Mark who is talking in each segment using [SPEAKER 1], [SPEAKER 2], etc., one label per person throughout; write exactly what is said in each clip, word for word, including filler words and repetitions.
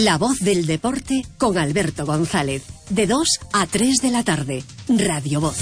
[SPEAKER 1] La voz del deporte con Alberto González. De dos a tres de la tarde. Radio Voz.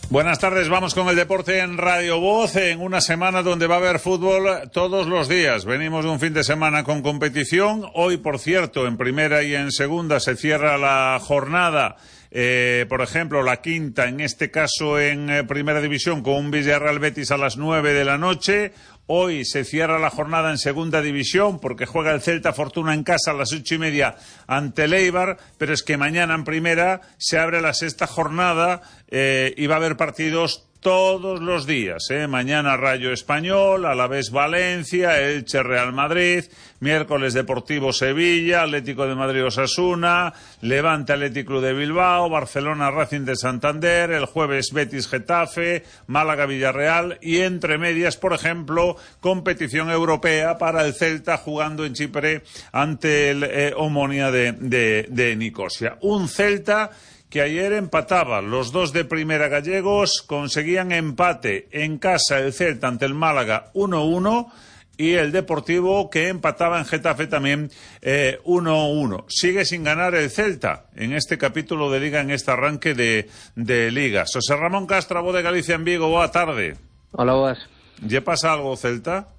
[SPEAKER 2] Buenas tardes, vamos con el deporte en Radio Voz, en una semana donde va a haber fútbol todos los días. Venimos de un fin de semana con competición. Hoy, por cierto, en primera y en segunda se cierra la jornada. Eh, por ejemplo, la quinta, en este caso en eh, Primera División, con un Villarreal Betis a las nueve de la noche. Hoy se cierra la jornada en Segunda División porque juega el Celta Fortuna en casa a las ocho y media ante el Eibar, pero es que mañana en Primera se abre la sexta jornada eh, y va a haber partidos todos los días, ¿eh? Mañana Rayo Español, Alavés Valencia, Elche Real Madrid, miércoles Deportivo Sevilla, Atlético de Madrid Osasuna, Levante Atlético Club de Bilbao, Barcelona Racing de Santander, el jueves Betis Getafe, Málaga Villarreal y entre medias, por ejemplo, competición europea para el Celta jugando en Chipre ante el eh, Omonia de, de, de Nicosia. Un Celta que ayer empataba, los dos de Primera gallegos conseguían empate en casa el Celta ante el Málaga uno uno y el Deportivo que empataba en Getafe también eh, uno uno. Sigue sin ganar el Celta en este capítulo de Liga, en este arranque de, de Liga. José Ramón Castro, Voz de Galicia en Vigo, boa tarde.
[SPEAKER 3] Hola, boas.
[SPEAKER 2] ¿Ya pasa algo Celta?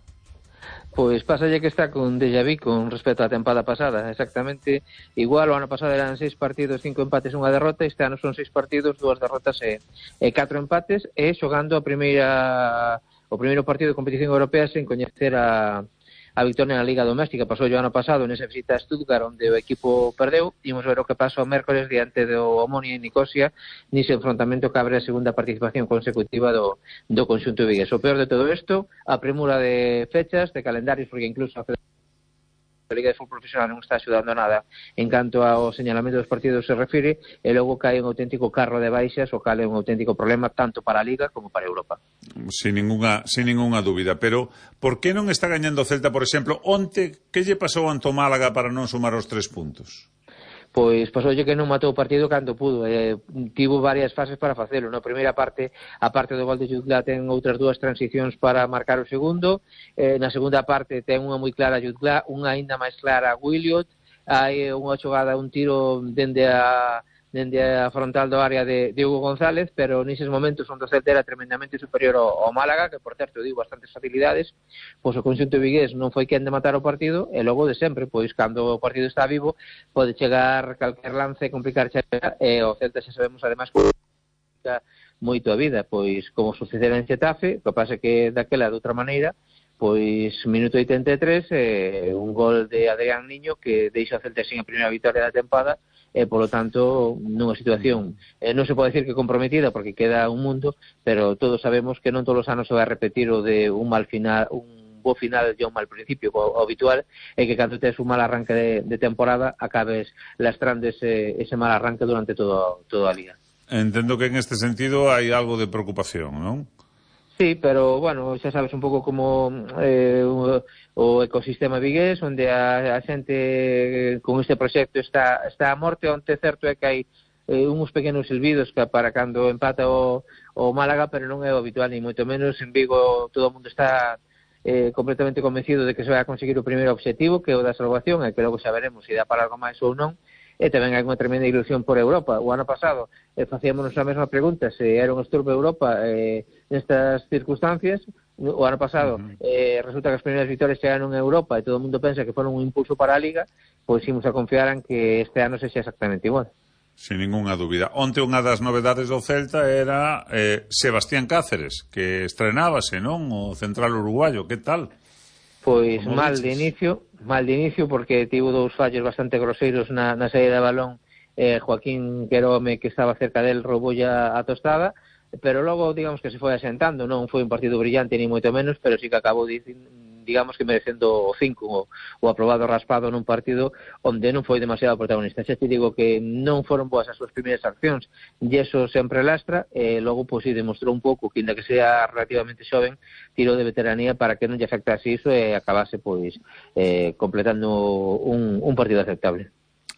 [SPEAKER 3] Pois pásalle que está con déjà vu con respecto á tempada pasada, exactamente igual. O ano pasado eran seis partidos, cinco empates, unha derrota. Este ano son seis partidos, dúas derrotas e, e catro empates, e xogando a primeira o primeiro partido de competición europea sen coñecer a a victoria na Liga Doméstica. Pasou o ano pasado nesa visita a Stuttgart onde o equipo perdeu. Imos ver o que pasou o mércoles diante do Omonia en Nicosia nese enfrontamento que abre a segunda participación consecutiva do, do conxunto vigués. O peor de todo isto, a premura de fechas, de calendarios, porque incluso a a Liga de Fútbol Profesional non está axudando nada en canto ao señalamento dos partidos se refire, e logo cae un auténtico carro de baixas, o cal é un auténtico problema tanto para a Liga como para Europa.
[SPEAKER 2] Sin ninguna, sin ninguna dúbida, pero por que non está gañando o Celta, por exemplo, onte, que lle pasou ante o Málaga para non sumar os tres puntos?
[SPEAKER 3] Pois pasoulle que non matou o partido cando pudo, eh, tivo varias fases para facelo. Na primeira parte, a parte do gol de Jutgla, ten outras dúas transicións para marcar o segundo, eh, na segunda parte ten unha moi clara Jutgla, unha aínda máis clara Williot, hai unha xogada, un tiro dende a dende a frontal do área de, de Hugo González, pero neses momentos onde o Celta era tremendamente superior ao, ao Málaga, que por certo digo bastantes facilidades, pois o conxunto vigués non foi quen de matar o partido, e logo de sempre, pois cando o partido está vivo pode chegar calquer lance e complicar chegar, e o Celta xa sabemos ademais moito a vida, pois como sucedera en Xetafe, o que pasa que daquela de outra maneira, pois minuto oitenta e tres, eh, un gol de Adrián Niño que deixa o Celta sin a primeira vitória da tempada, e polo tanto nunha situación eh, non se pode decir que comprometida porque queda un mundo, pero todos sabemos que non todos os anos se vai repetir o de un mal final, un bo final e un mal principio. O, o habitual é que cando tes un mal arranque de, de temporada acabes lastrando ese, ese mal arranque durante todo, toda a liga.
[SPEAKER 2] Entendo que en este sentido hai algo de preocupación, non?
[SPEAKER 3] Sí, pero, bueno, xa sabes un pouco como eh, o, o ecosistema vigués, onde a, a xente con este proxecto está, está a morte, onde certo é que hai eh, uns pequenos silbidos que para cando empata o, o Málaga, pero non é o habitual, ni moito menos. En Vigo todo o mundo está eh, completamente convencido de que se vai a conseguir o primeiro obxectivo, que é o da salvación, e que logo xa veremos se dá para algo máis ou non. E tamén hai unha tremenda ilusión por Europa. O ano pasado eh, facíamos a mesma pregunta, se era un estorbo Europa eh, nestas circunstancias. O ano pasado uh-huh. eh, resulta que as primeiras vitorias chegaron en Europa e todo o mundo pensa que foron un impulso para a Liga, pois imos a confiar en que este ano sexa exactamente igual.
[SPEAKER 2] Sin ninguna dúbida. Onte unha das novedades do Celta era eh, Sebastián Cáceres, que estrenábase, non? O central uruguayo, que tal?
[SPEAKER 3] Pois mal de inicio, mal de inicio porque tivo dous fallos bastante groseiros na, na saída de balón. eh, Joaquín Querome, que estaba cerca del, rouboulle a tostada, pero logo digamos que se foi asentando. Non foi un partido brillante ni moito menos, pero sí que acabou digamos que merecendo o cinco, o, o aprobado raspado nun partido onde non foi demasiado protagonista. Xa te digo que non foron boas as súas primeiras accións e iso sempre lastra, e logo pois si demostrou un pouco que, inda que sea relativamente xoven, tiro de veteranía para que non lle afectase iso e acabase pois eh, completando un, un partido aceptable.